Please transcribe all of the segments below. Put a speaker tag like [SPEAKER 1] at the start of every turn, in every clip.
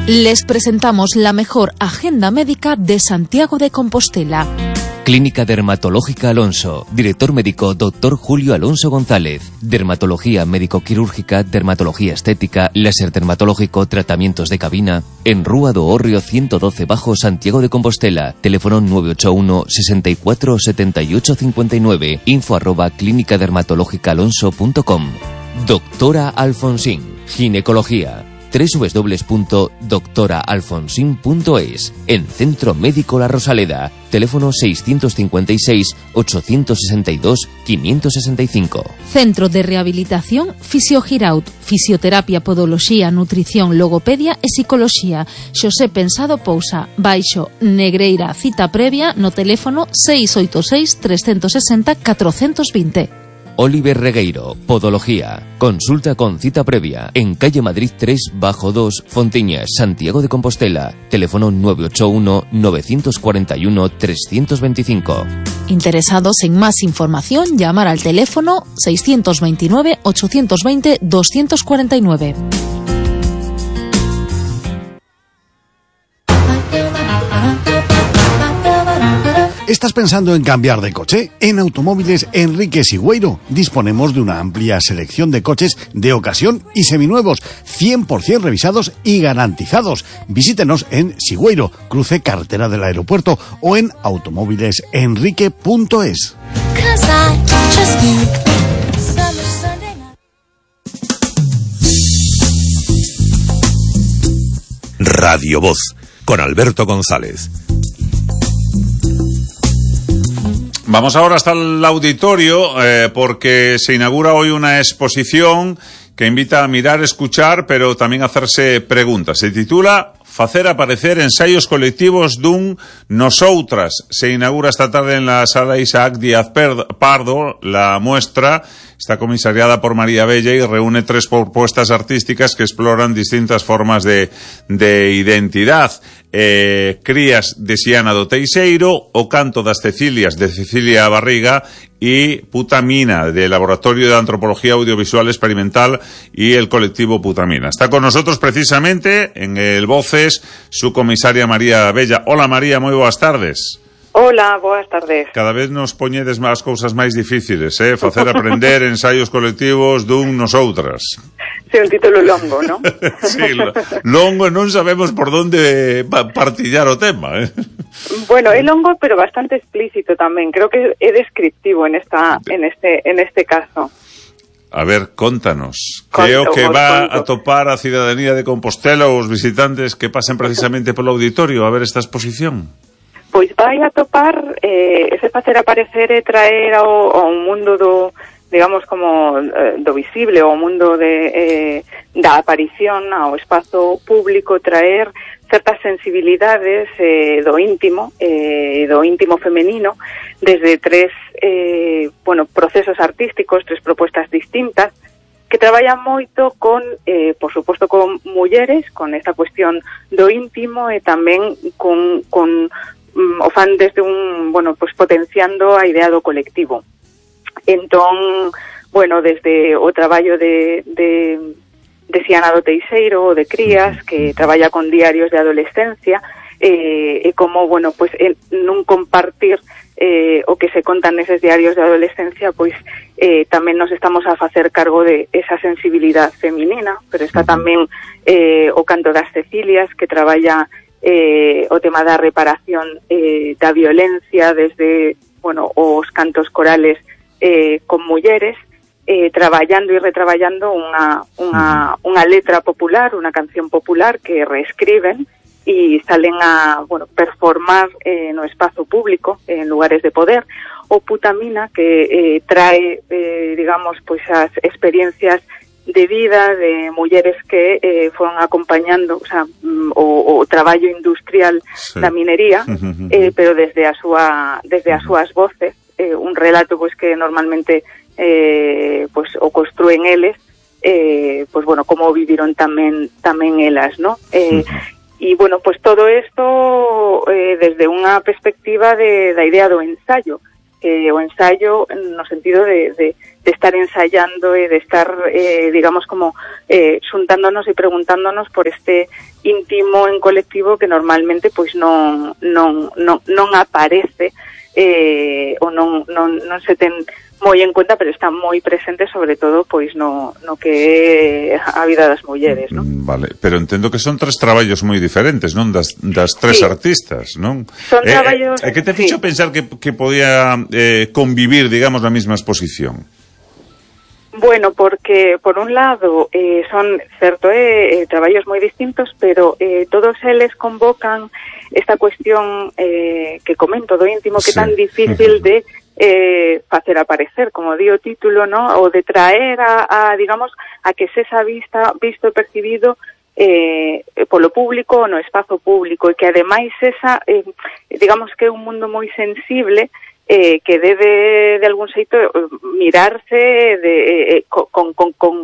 [SPEAKER 1] Les presentamos la mejor agenda médica de Santiago de Compostela.
[SPEAKER 2] Clínica Dermatológica Alonso. Director médico Dr. Julio Alonso González. Dermatología médico-quirúrgica, dermatología estética, láser dermatológico, tratamientos de cabina. En Rúa do Hórreo 112 Bajo, Santiago de Compostela. Teléfono 981 64 78 59. info@clinicadermatologicaalonso.com. Doctora Alfonsín. Ginecología. www.doctoraalfonsin.es. En Centro Médico La Rosaleda. Teléfono 656 862 565.
[SPEAKER 1] Centro de Rehabilitación Fisiogiraut. Fisioterapia, podoloxía, nutrición, logopedia e psicoloxía. Xosé Pensado Pousa. Baixo Negreira. Cita previa no teléfono 686 360 420.
[SPEAKER 2] Oliver Regueiro, Podología. Consulta con cita previa en calle Madrid 3 bajo 2, Fontiñas, Santiago de Compostela. Teléfono 981 941 325.
[SPEAKER 1] Interesados en más información, llamar al teléfono 629 820 249.
[SPEAKER 3] ¿Estás pensando en cambiar de coche? En Automóviles Enrique Sigüeiro disponemos de una amplia selección de coches de ocasión y seminuevos, 100% revisados y garantizados. Visítenos en Sigüeiro, cruce carretera del aeropuerto, o en automóvilesenrique.es.
[SPEAKER 4] Radio Voz, con Alberto González.
[SPEAKER 5] Vamos ahora hasta el auditorio porque se inaugura hoy una exposición que invita a mirar, escuchar, pero también a hacerse preguntas. Se titula Facer aparecer ensaios colectivos dun Nosoutras. Se inaugura esta tarde en la sala Isaac Díaz Pardo. La muestra está comisariada por María Bella y reúne 3 propuestas artísticas que exploran distintas formas de identidad. Crías de Xiana do Teixeiro, O canto das Cecilias de Cecilia Barriga y Putamina, del Laboratorio de Antropología Audiovisual Experimental y el colectivo Putamina. Está con nosotros precisamente en el Voces su comisaria María Bella. Hola María, moi boas tardes.
[SPEAKER 6] Hola, boas tardes.
[SPEAKER 5] Cada vez nos poñedes máis cousas máis difíciles, facer aprender ensaios colectivos dun Nosoutras.
[SPEAKER 6] Sí, un título longo, ¿no?
[SPEAKER 5] Sí, longo, non sabemos por onde partillar o tema,
[SPEAKER 6] Bueno, é longo, pero bastante explícito tamén. Creo que é descriptivo en este caso.
[SPEAKER 5] A ver, contanos. Creo que va a topar a cidadanía de Compostela ou os visitantes que pasen precisamente polo auditorio a ver esta exposición.
[SPEAKER 6] Pois vai a topar ese facer aparecer e traer ao mundo do, digamos, como do visible, ao mundo da aparición, ao espazo público, traer certas sensibilidades do íntimo femenino desde 3 procesos artísticos, 3 propuestas distintas que traballan moito con, por suposto, con mulleres, con esta cuestión do íntimo e tamén con o fan desde potenciando a idea do colectivo. Entón, desde o traballo de Xiana do Teixeiro, de Crías, que traballa con diarios de adolescencia, e como, nun compartir o que se contan neses diarios de adolescencia, tamén nos estamos a facer cargo de esa sensibilidad feminina, pero está tamén o canto das Cecilias, que traballa o tema da reparación da violencia desde, os cantos corales con mulleres, traballando e retraballando unha letra popular, unha canción popular que reescriben e salen a performar no espazo público, en lugares de poder. O Putamina, que trae, as experiencias de vida de mulleres que foron acompañando, o traballo industrial da minería, pero desde as súas voces, un relato que normalmente o construen eles, como viviron tamén elas, ¿no? E todo isto desde unha perspectiva da idea do ensayo, o ensayo no sentido de estar ensayando e de estar, digamos, como xuntándonos e preguntándonos por este íntimo en colectivo que normalmente pois non aparece ou non se ten moi en cuenta, pero está moi presente sobre todo pois no que é a vida das mulleres, non?
[SPEAKER 5] Vale, pero entendo que son 3 traballos moi diferentes, non? Das 3 artistas, non?
[SPEAKER 6] Son traballos...
[SPEAKER 5] que te fixo pensar que podía convivir, digamos, na mesma exposición?
[SPEAKER 6] Bueno, porque por un lado son, certo, traballos moi distintos, pero todos eles convocan esta cuestión que comento do íntimo, que é tan difícil de facer aparecer, como di o título, ¿no? O de traer digamos, a que sexa visto e percibido polo público no espazo público, e que ademais digamos que é un mundo moi sensible que debe de algún xeito mirarse con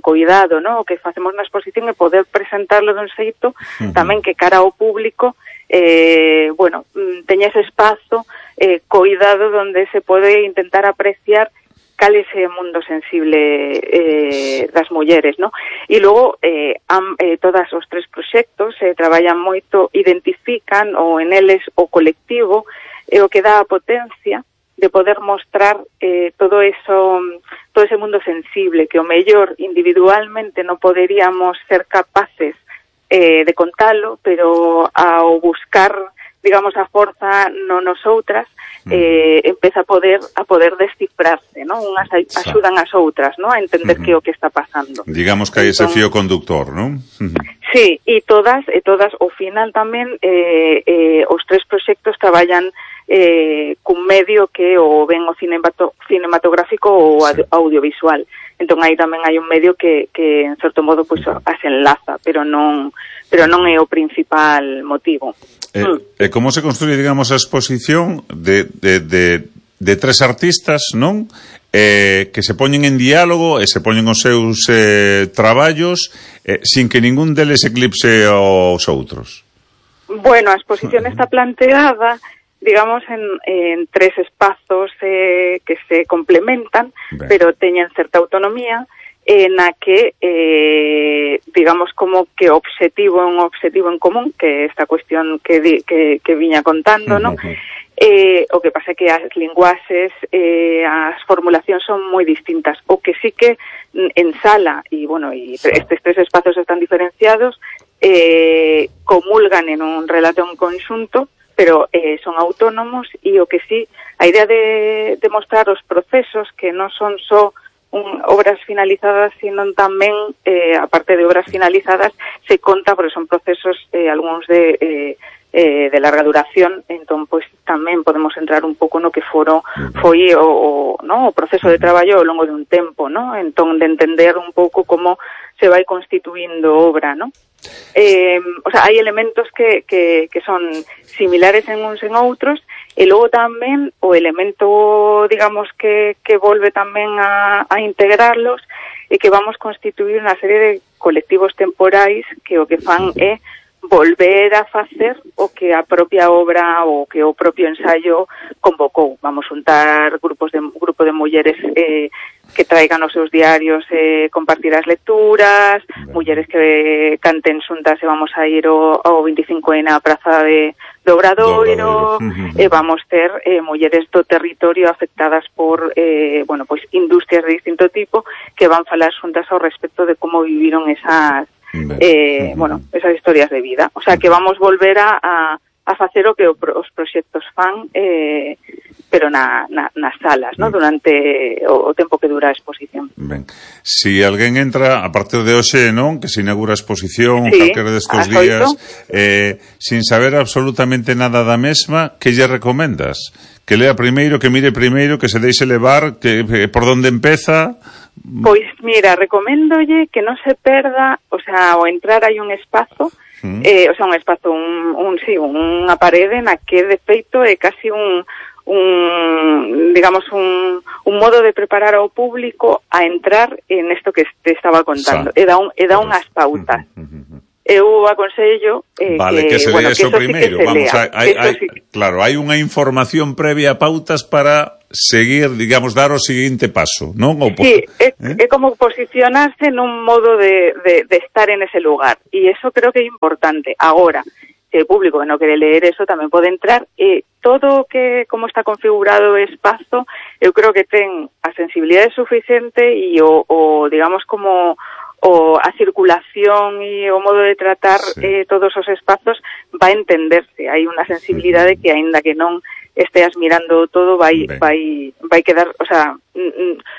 [SPEAKER 6] cuidado, ¿no? O que facemos na exposición e poder presentarlo dun xeito tamén que cara ao público bueno, teña ese espazo coidado donde se pode intentar apreciar cal ese mundo sensible das mulleres, ¿no? E logo todas os 3 proxectos traballan moito, identifican ou en eles o colectivo o que dá a potencia de poder mostrar todo ese mundo sensible que o mellor individualmente non poderíamos ser capaces de contalo, pero ao buscar, digamos, a forza nosoutras, empeza a poder descifrarse, ¿no? Unhas axudan as outras, ¿no? A entender que é o que está pasando.
[SPEAKER 5] Digamos que hai ese fío conductor, ¿non?
[SPEAKER 6] Sí, e todas, ao final tamén, os 3 proxectos traballan cun medio que o ben o cinematográfico ou audiovisual. Entón aí tamén hai un medio que en certo modo pois as enlaza, pero non é o principal motivo.
[SPEAKER 5] Como se construye, digamos, a exposición de 3 artistas, non? Que se poñen en diálogo e se poñen os seus traballos sin que ningún deles eclipse aos outros?
[SPEAKER 6] Bueno, a exposición está planteada, digamos, en 3 espazos que se complementan, pero teñen certa autonomía, na que, digamos, como que o objetivo é un objetivo en común, que esta cuestión que viña contando, ¿no? O que pasa é que as linguaxes, as formulacións son moi distintas. O que sí que en sala, e bueno, estes 3 espazos están diferenciados, comulgan en un relato en conxunto, pero son autónomos, e o que sí, a idea de mostrar os procesos que non son só obras finalizadas, sino tamén, aparte de obras finalizadas, se conta, porque son procesos, algúns de larga duración, entón, pois, tamén podemos entrar un pouco no que foi o proceso de traballo ao longo de un tempo, ¿no? Entón, de entender un pouco como se vai constituindo obra, ¿no? O sea, hai elementos que son similares en uns en outros, e logo tamén o elemento, digamos, que volve tamén a integrarlos, e que vamos constituir unha serie de colectivos temporais que o que fan é volver a facer o que a propia obra ou que o propio ensayo convocou. Vamos juntar grupo de mulleres que traigan os seus diarios compartir as lecturas, mulleres que canten xuntas e vamos a ir ao 25 na praza do Obradoiro, e vamos ter mulleres do territorio afectadas por pois industrias de distinto tipo que van falar xuntas ao respecto de como viviron esas esas historias de vida. O sea, que vamos volver a facer o que os proxectos fan, pero nas salas, ¿no? Durante o tempo que dura a exposición.
[SPEAKER 5] Ben. Si alguén entra a partir de hoxe, non? Que se inaugura a exposición, calquera destes días, sin saber absolutamente nada da mesma, que lle recomendas? Que lea primeiro, que mire primeiro, que se deixe levar, que por donde empeza?
[SPEAKER 6] Pois, mira, recoméndolle que non se perda, o sea, ao entrar hai un espazo, o sea, un espazo, unha parede na que de feito é casi digamos, un modo de preparar ao público a entrar en isto que te estaba contando. E dá unhas pautas. Eu aconsello
[SPEAKER 5] que se lea eso primeiro. Vamos, Claro, hai unha información previa, pautas para seguir, digamos, dar o seguinte paso, non?
[SPEAKER 6] Sí, é como posicionarse nun modo de estar en ese lugar, e eso creo que é importante. Agora, se o público que non quere ler eso tamén pode entrar, e todo que como está configurado o espazo, eu creo que ten a sensibilidade suficiente e o digamos como a circulación e o modo de tratar todos os espazos vai entenderse. Hai unha sensibilidade que, aínda que non esteas mirando todo, vai quedar, o sea,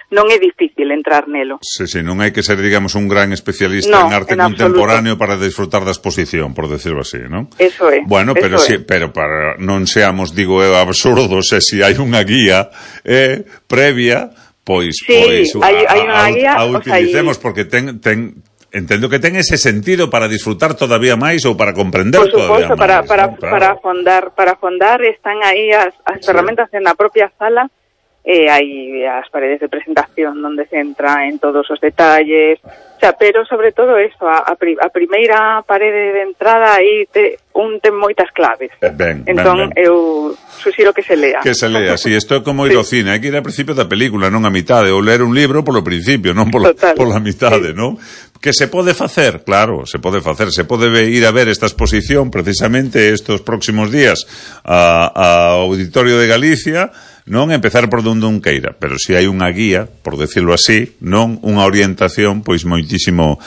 [SPEAKER 6] non é difícil entrar nelo.
[SPEAKER 5] Sí, non hai que ser, digamos, un gran especialista en arte contemporáneo para disfrutar da exposición, por decirlo así, non?
[SPEAKER 6] Eso é.
[SPEAKER 5] Bueno, pero pero para non seamos, digo, absurdos, se hai unha guía previa, pois
[SPEAKER 6] hai unha guía,
[SPEAKER 5] a utilicemos, porque entendo que ten ese sentido para disfrutar todavía máis ou para comprender todavía máis.
[SPEAKER 6] Para afondar están aí as ferramentas en a propia sala, hai as paredes de presentación onde se entra en todos os detalles, o sea, pero sobre todo eso, a primeira parede de entrada aí ten moitas claves. Entón eu suxiro que se lea.
[SPEAKER 5] Que se lea, si, isto é como ir ao cine, hai que ir ao principio da película, non a mitade, ou ler un libro polo principio, non pola mitade, non? Que se pode facer, claro, se pode facer, se pode ir a ver esta exposición precisamente estos próximos días ao Auditorio de Galicia, non empezar por donde un queira, pero si hai unha guía, por decirlo así, non unha orientación, pois moitísimo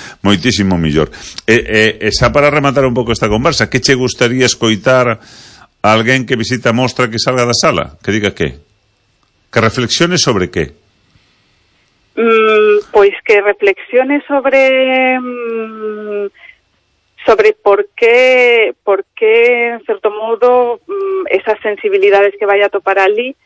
[SPEAKER 5] millor. E xa para rematar un pouco esta conversa, que che gustaría escoitar a alguén que visita a mostra que salga da sala? Que diga que? Que reflexione sobre que?
[SPEAKER 6] Pois que reflexione sobre por qué en certo modo esas sensibilidades que vai a topar ali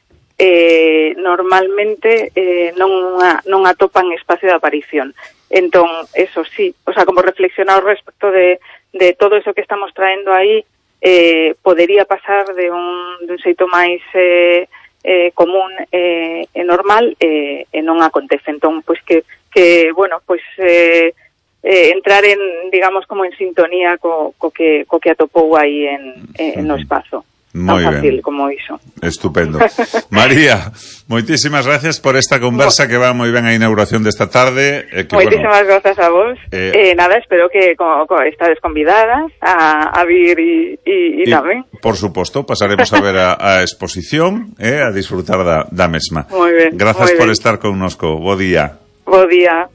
[SPEAKER 6] normalmente non atopan espacio de aparición. Entón, eso sí, o sea, como reflexionar respecto de todo eso que estamos traendo aí, podería pasar de un xeito máis común e normal, e non acontece. Entón, pois que bueno, pois entrar en, digamos, como en sintonía co que atopou aí no espazo.
[SPEAKER 5] Moi
[SPEAKER 6] tan fácil
[SPEAKER 5] ben.
[SPEAKER 6] Como iso.
[SPEAKER 5] Estupendo. María, moitísimas gracias por esta conversa que va moi ben a inauguración desta tarde.
[SPEAKER 6] Moitísimas grazas a vos. Nada, espero que estades convidadas a vir e tamén.
[SPEAKER 5] Por suposto, pasaremos a ver a exposición, a disfrutar da mesma.
[SPEAKER 6] Moi ben.
[SPEAKER 5] Grazas por estar connosco. Bo día.
[SPEAKER 6] Bo día.